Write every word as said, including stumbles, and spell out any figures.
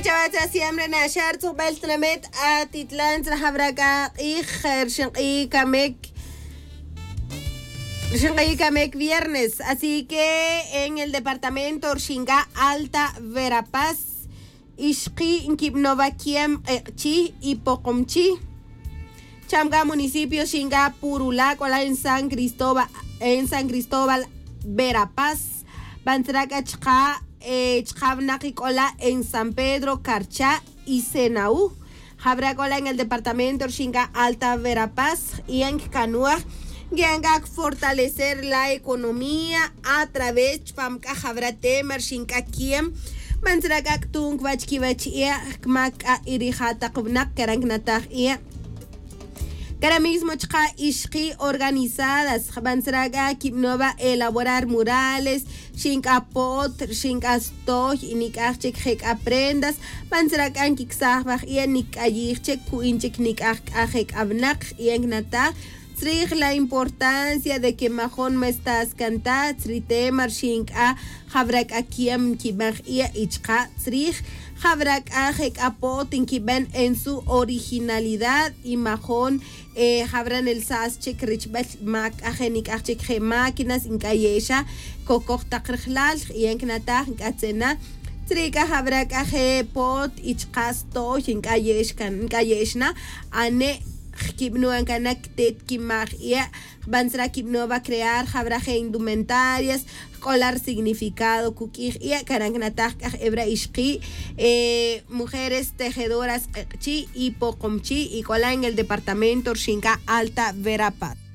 Chawatza siempre naxar tzujbel tnamet atitlan tzrajabra k'a q'ij rxink'i' kamek rxink'i' kamek viernes. Así que en el departamento rxink'a alta verapaz, ixqi' nkibnova kiem q'eq'chi' y poqomchi'. Cham k'a municipio xink'a purula' k'ola' en san cristóbal en san cristóbal verapaz. Bantzra' k'a chqa' chqa' vnaq ik'ola' en san pedro carcha' y senaú. Jabra' k'ola' en el departamento rxink'a alta verapaz y en kkanuaj nki'an k'a kfortalecer la economía a través chpam k'a jabra' tema rxink'a kiem. Bantzra' k'a ktu'n kbach kibach ie' kmak k'a irija' taq vnaq karan knataj ie'. Kara mismo chqa' ixqi' organizadas jban tzra' k'a kibnova elaborar murales rxink'a po't rxink'a stoy y nik'aj chik je' k'a prendas. Jban tzra' k'a nkiksaj vaj ie' nikk'ayij chik ku'in chik nik'aj k'a je' k'a vnaq y en knataj tzrij la importancia de que majon ma estás cantá tzri tema rxink'a jabra' k'a kiem nkibaj ie' y chqa' tzrij jabra' k'a je' k'a po't nkiben en su originalidad y majon jabra' nelsas chik richbel ma k'a je' nik'aj chik je' máquinas nk'aye'xa kokoj taq rajlal y en knataj nk'atzena tzri' k'a jabra' k'a je' po't y chqa' stoy nk'aye'x kan nk'aye'xna ane' kibnuan kan na ktet kimaj ie'. Jban tzra' kibnova crear jabra' je' indumentarias jk'ola' rsignificado kuk'ij ie' karan knataj k'a jebra' ixqi' mujeres tejedoras q'eq'chi' y poqomchi' y k'ola' en el departamento rxink'a alta verapaz.